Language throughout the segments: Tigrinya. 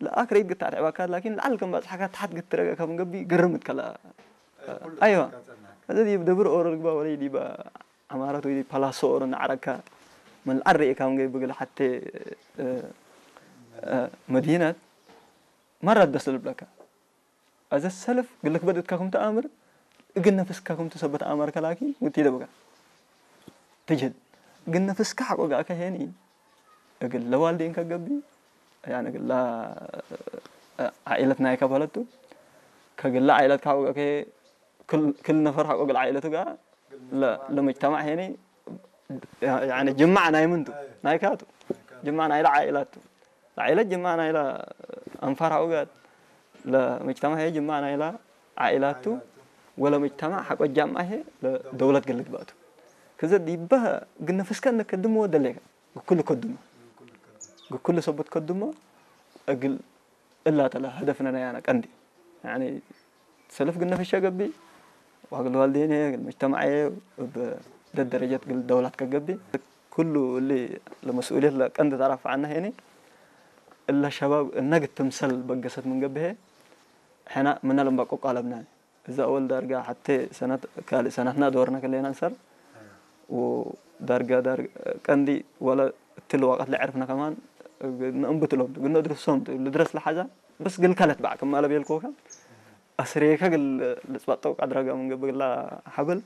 ለኣክረይት ግታ ትዕባካ ላኪን ለዓል ከም ባጽሓካ ታሕት ግትረገ ከም ገቢ ግርምት ከላ ኣይዋ እዚ ዲብ ደብር ኦሮ ልግባ ወለይ ዲባ ዓማራት ወይ ፓላሶ ኦሮ ንዓረካ ምን ዓረ ኢካ ከም ገቢ ብግል ሓቴ መዲነት መራት ደስ ልብለካ። ኣዘ ሰልፍ ግልክ በድትካ ክም ተኣምር እግል ነፍስካ ክም ተሰበት ኣማር ከላኪን ውቲ ደብጋ ትጅል እግል ነፍስካ ሓቆ ጋእከ ሄኒ እግል ለዋልዴን ከገቢ ያን እግል ዓኢለት ናይካ በለቱ ከግላ ዓኢለት ካቆ ጋእከ ክል ነፈር ሓቆ ግል ዓኢለቱ ጋር ለመጅተማዕ ሄኒ ጅማዕ ናይ ምንቱ ናይካቱ ጅማዕ ናይላ ዓኢላቱ ለዓይለት ጅማዕ ናይላ ኣንፋር ሓቆ ጋር ለመጅተማዕ ሄ ጅማዕ ናይላ ዓኢላቱ ወለ መጅተማዕ ሓቆ ጃምዓ ሄ ደውለት ግል ግባቱ ከዘ ዲባ ግን ነፍስካ ነከድሞ ደሌካ ግኩል ከድሞ ግኩል ሰበት ከድሞ እግል እላ ተላ هدفنا ናያና ቀንዲ ሰልፍ ግን ነፍሻ ገቢ ዋግል ዋልዴን ሄ ግል መጅተማዕ ሄ ደደረጀት ግል ደውላት ከገቢ ኩሉ እሊ ለመስኡልየት ለቀንዲ ተራፍዓና ሄኒ እላ ሸባብ እነግ ትምሰል በገሰት ምን ገብሄ ሕና ምና ለምባቆ ቃለብና እዛ ኣወል ዳርጋ ሓቴ ሰናት ካልእ ሰናትና ዶርና ከለና እንሰር ወዳርጋ ዳር ቀንዲ ወላ እትል ዋቀት ለዕርፍና ከማን ንእንብትሎም ግን ድርሶም ልድረስ ለሓዛ በስ ግል ከለት ባዕ ከማለ ቤልኮካ ኣስሬካ ግል ልጽባጠው ቃድራጋ ምን ገብግላ ሓብል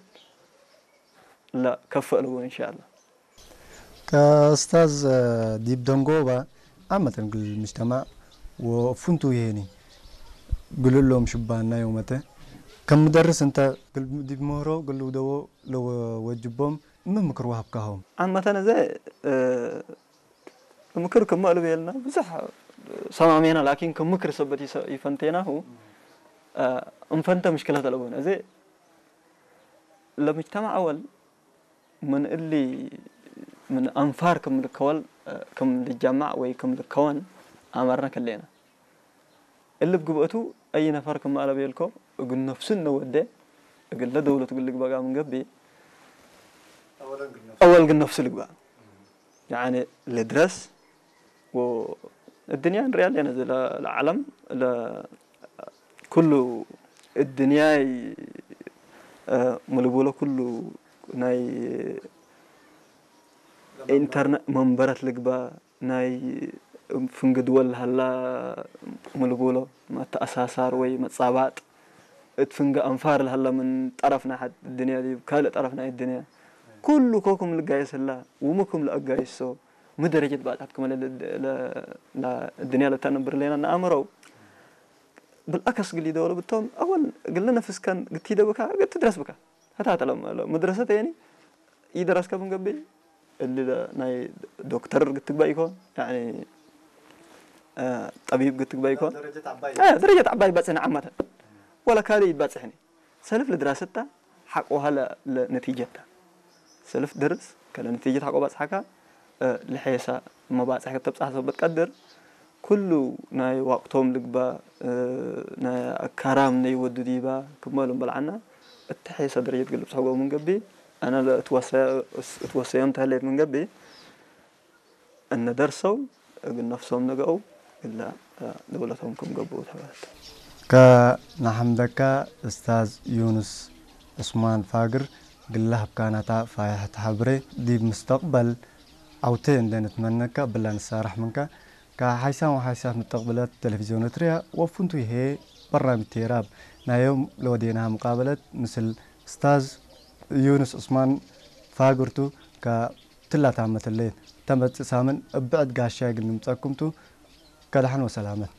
لا ከፈ ኣለዎ ኢንሻአላ كأستاذ ዲብ ደንጎባ ዓመተን ግል ምጅተማዕ ወፍንቱ ይሄኒ ግልሎም ሽባና የውመተ ከም ምደርስ እንተ ዲብ ምህሮ ግል ደዎ ለወጅቦም ምምክር ወሃብካሆም ዓመተን እዘ ምክር ክመእሉ ቤልና ብዙሕ ሰማሜና ላኪን ከም ምክር ሰበት ይፈንቴናሁ እንፈንተ ምሽክለት ኣለቦን እዚ ለምጅተማዕ ኣወል ምን እሊ ምን ኣንፋር ከም ልከወል ከም ልጃማዕ ወይ ከም ልከወን ኣመርነ ከሌና እሊ ብግብእቱ ኣይ ነፈር ከም ኣለቤልኮ እግል ነፍሱ እነወደ እግለ ደውለት እግል ልግበጋ ምን ገቢ ኣወል ግን ነፍሱ ልግባ ያኒ ልድረስ الدنيا ንሪኣ ኣለና እዚ ለዓለም ኩሉ እድንያይ ምልብሎ ኩሉ ናይ ኢንተርነ መንበረት ልግባ ናይ ፍንግድወል ሃላ ምልብሎ መተኣሳሳር ወይ መጻባጥ እት ፍንገ ኣንፋር ለሃላ ምን ጠረፍ ናይ ሓድ ድንያ ዲብ ካልእ ጠረፍ ናይ ድንያ ኩሉ ኮኩም ልጋየስ ህላ ውምኩም ለአጋይሶ ምደረጀት ባጻት ክመለ ድንያ ለተንብር ሌና ንኣምረው ብልኣከስ ግሊ ደወለ ብቶም ኣወል ግለ ነፍስከን ግቲ ደብካ ግቲ ድረስ ብካ ተታተለ ምድረሰት የኒ ይደረስከ ብንገብይ እሊ ናይ ዶክተር ግትግባ ይኮን ጠቢብ ግትግባ ይኮን ደረጀት ዓባይ ይባጽሕኒ ዓመተን ወላ ካልእ ይባጽሕኒ ሰልፍ ልድራሰታ ሓቆ ሃለ ነቲጀታ ሰልፍ ድርስ ከለ ነቲጀት ሓቆ ባጽሓካ ልሐየሳ መባጽሕ ከተብጽሓ ሰበት ቀድር ኩሉ ናይ ዋቅቶም ልግባ ናይ ኣካራም ነይ ወዱ ዲባ ክመሉ በልዓና እተሐየሳ ደረጀት ግልብጽ ሕጎ ምንገቢ ኣነ እትወሰዮም ተህለየት ምንገቢ እነ ደርሰው እግል ነፍሶም ነገው እላ ደውለቶም ክም ገብኡ ተባህልተ። ከናሐምደካ እስታዝ ዩኑስ ዑስማን ፋግር ግላ ህብካናታ ፋያሕት ሐብሬ ዲብ ምስተቅበል ዐውቴ እንዴ ንትመነካ ብላ ንሳራሕ ምንካ ከሓይሳን ወሓይሳት ምተቅብለት ቴሌቪዝዮን ኤርትርያ ወፍንቱ ይሄ በራሚት ቴራብ ናዮም ለወዴናሃ ሙቃበለት ምስል እስታዝ ዩኑስ ዑስማን ፋግርቱ ከ ትላታመትለይ ተመጽእ ሳምን እብዕድ ጋሻይ ግን ንምጸኩም ቱ ከድሓን ወሰላመት።